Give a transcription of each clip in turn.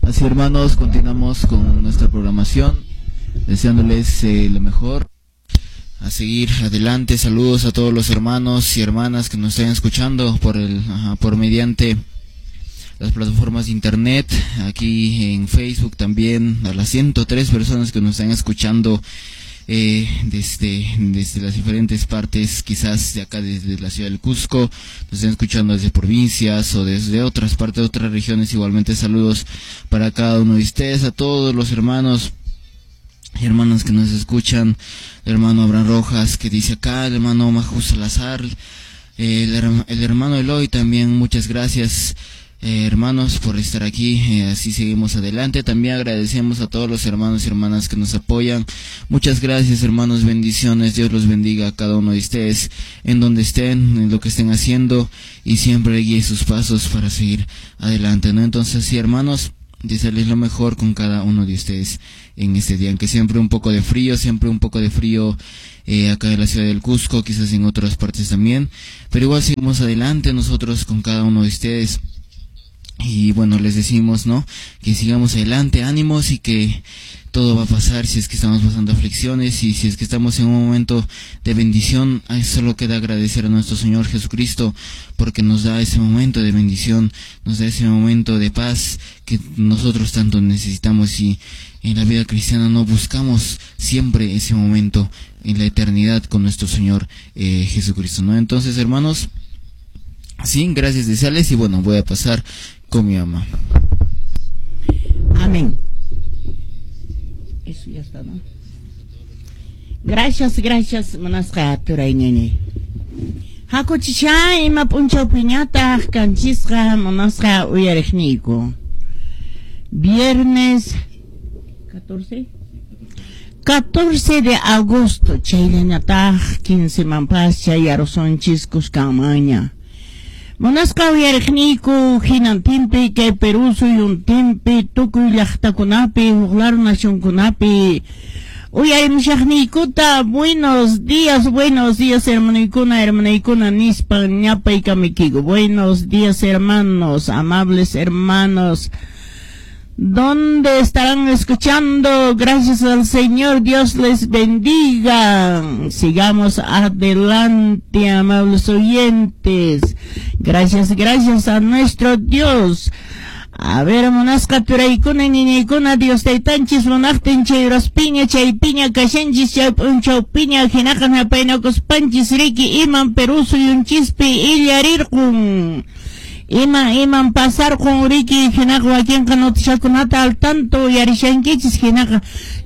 Así, hermanos, continuamos con nuestra programación, deseándoles lo mejor, a seguir adelante. Saludos a todos los hermanos y hermanas que nos están escuchando por mediante las plataformas de internet, aquí en Facebook también, a las 103 personas que nos están escuchando desde las diferentes partes, quizás de acá desde la ciudad del Cusco, nos están escuchando desde provincias o desde otras partes, de otras regiones. Igualmente saludos para cada uno de ustedes, a todos los hermanos y hermanas que nos escuchan, el hermano Abraham Rojas que dice acá, el hermano Maju Salazar, el hermano Eloy también, muchas gracias, hermanos, por estar aquí. Así seguimos adelante. También agradecemos a todos los hermanos y hermanas que nos apoyan. Muchas gracias, hermanos, bendiciones. Dios los bendiga a cada uno de ustedes, en donde estén, en lo que estén haciendo, y siempre guíe sus pasos para seguir adelante, ¿no? Entonces, sí, hermanos, desearles lo mejor con cada uno de ustedes en este día, aunque siempre un poco de frío, siempre un poco de frío acá en la ciudad del Cusco, quizás en otras partes también, pero igual seguimos adelante nosotros con cada uno de ustedes. Y bueno, les decimos, ¿no?, que sigamos adelante, ánimos, y que todo va a pasar si es que estamos pasando aflicciones, y si es que estamos en un momento de bendición, solo queda agradecer a nuestro Señor Jesucristo, porque nos da ese momento de bendición, nos da ese momento de paz que nosotros tanto necesitamos, y en la vida cristiana no buscamos siempre ese momento en la eternidad con nuestro Señor Jesucristo, ¿no? Entonces, hermanos, sí, gracias desearles, y bueno, voy a pasar con mi mamá. Amén. Eso ya está, ¿no? Gracias, gracias, munasqa turay ñañay. Hakuchisha ima p'unchaw piñataq kanchisqa munasqa uyariqniyku. Viernes 14 14 de agosto, chayllañataq 15 manpas chayarusunchis kuskanmanña. Munasqa uyariqniyku hinantinpi kay Perú suyuntinpi tukuy llaqtakunapi huk laru nacionkunapi uyarimushaqniykuta buenos días hermanoykuna, hermanaykuna nispa ñapaykamiykiku. Buenos días, hermanos, amables hermanos. ¿Dónde estarán escuchando? Gracias al Señor, Dios les bendiga. Sigamos adelante, amables oyentes. Gracias, gracias a nuestro Dios. A ver, munasqa turaykuna, ñiñaykuna, Dios taytanchis munaqtin chay raspiña, chay piña, kashanchis, chay p'unchaw piña, hinaqa napaynakuspanchis riki iman Perú suyunchispi illarirqun. Iman pasarqun riki hinaqa wakinqa notishakunata al tanto uyarishankichis hinaqa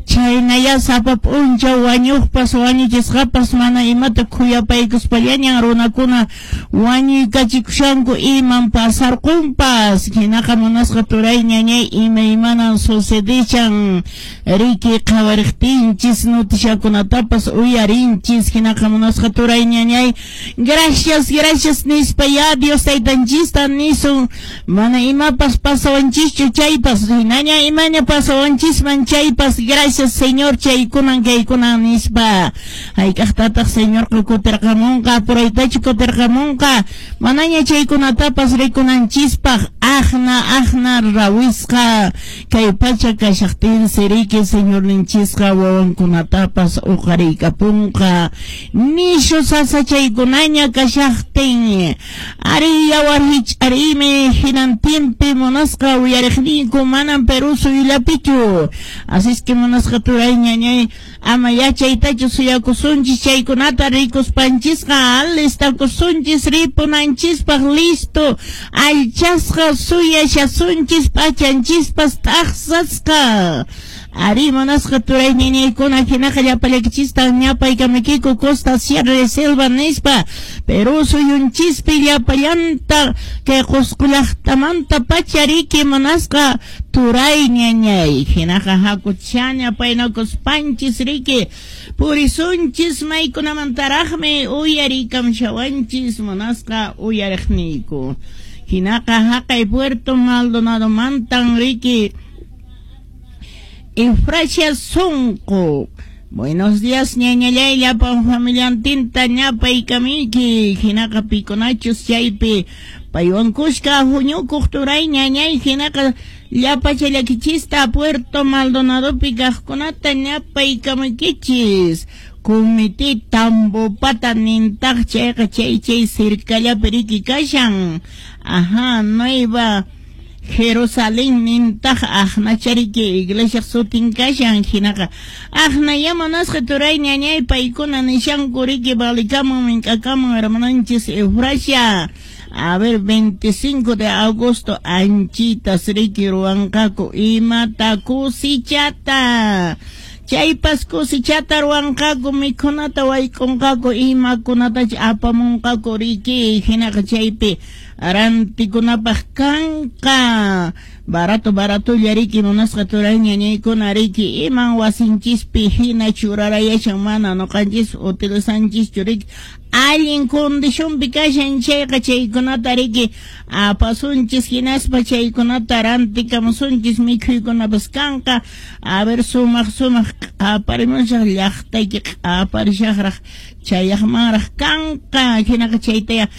chaynaya sapa p'unchaw wañuqpas wañuchisqapas mana imata khuyapaykuspallañan runakuna wañuykachikushanku iman pasarqunpas hinaqa munasqa turay ñañay imaymanan sucedishan riki qhawariqtinchis notishakunatapas uyarinchis hinaqa munasqa turay ñañay gracias, gracias nispa ya Dios taytanchista nisun mana imapas pasawanchischu chaypas hinaña imaña pasawanchisman chaypas gracias Señor chaykunan kaykunan nispa hayk'aqtataq Señor kutirqamunqa puraytachu kutirqamunqa manaña chaykunatapas rikunanchispaq aqna aqna rawisqa kay pacha kashaqtinsi riki Señorninchisqa wawankunatapas uqariykapunqa nishu sasachaykunaña kashaqtin ari yawar hich'ariymi hinantinpi munasqa uyariqniyku manan Perú suyullapichu así es que munasqa turay ñañay ama yachaytachu suyakusunchis chaykunata rikuspanchisqa alistakusunchis ripunanchispaq listo allchasqa suyashasunchis p'achanchispas t'aqsasqa ari munasqa turay ñañaykuna hinaqa llapallaykichista ñapaykamiykiku costa, sierra, selva nispa Perú suyunchispi llapallanta kay Qusqu llaqtamanta pacha riki munasqa turay ñañay hinaqa hakuchaña paynakuspanchis riki purisunchis maykunamantaraqmi uyarikamshawanchis munasqa uyariqniyku hinaqa haqay Puerto Maldonado mantan riki Efrasia Sonqo Buenos días, ñañallay, llapan familiantinta ñapaykamiki, hinaqa pikunachus chaypi paywan kushka huñukuq turay ñañay, hinaqa llapa challakichista Puerto Maldonadopi kaqkunata ñapaykamikichis. Comité Tambopata nintaq chayqa chay chay cercallapi riki kashan. Ajá, Nueva Jerusalén nintaq aqnachariki iglesia sutin kashan, hinaqa aqnaya munasqa turay ñañay paykuna nishanku riki valikamun mink'akamun hermananchis Eufrasia. A ver, 25 de agosto anchitas riki ruwanqaku imata kusichata. Chaypas kusichata ruwanqaku mikhunata wayk'unqaku imakunatacha apamunqaku riki, hinaqa chaypi rantikunapaq kanqa. Barato baratolla riki munasqa turay ñañaykuna riki iman wasinchispi hina churarayashan mana nuqanchis utilizanchis riki allin condicionpi kashan chayqa chaykunata riki apasunchis hinaspa chaykunata rantikamusunchis mikhuykunapas kanqa. A ver, sumaq sumaq q'aparimushaq llaqtayki q'aparishaqraq chayaqmanraq kanqa, hinaqa chaytaya.